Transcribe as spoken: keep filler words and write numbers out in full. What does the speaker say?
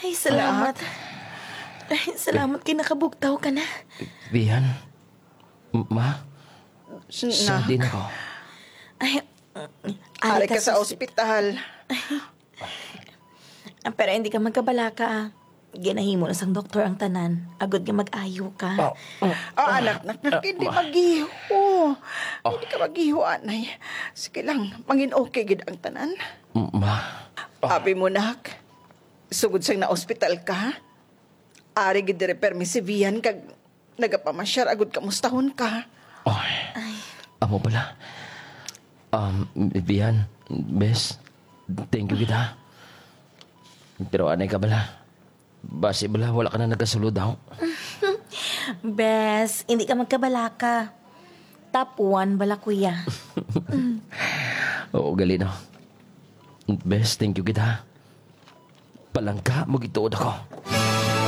Ay, salamat. Ay, salamat kay nakabugtaw ka na. Vian? M-, Ma? Sadin ako. Ay, ari ka sa ospital. Ah, pero hindi ka magkabalaka, ah. Ginahimo na sang doktor ang tanan, agod nga mag-ayo ka. Oh, anak, nak, nak, hindi mag-iho. Hindi ka mag-iho, anay. Sige lang, mangin okay gid ang tanan. Ma. Abi mo, nak. Sugod sang naospital ka, ari gid diri permi si Vian kag nagapamasyar agud kamustahon ka. Oy. Ay. Amo pala. Um, Vian, bes, thank you kita. Pero anay ka bala. Basi bala, wala ka na nagasulod daw. Bes, hindi ka magkabalaka. Top one bala, kuya. Oo, gali, no? Bes, thank you kita. Palangga mo gituod ako.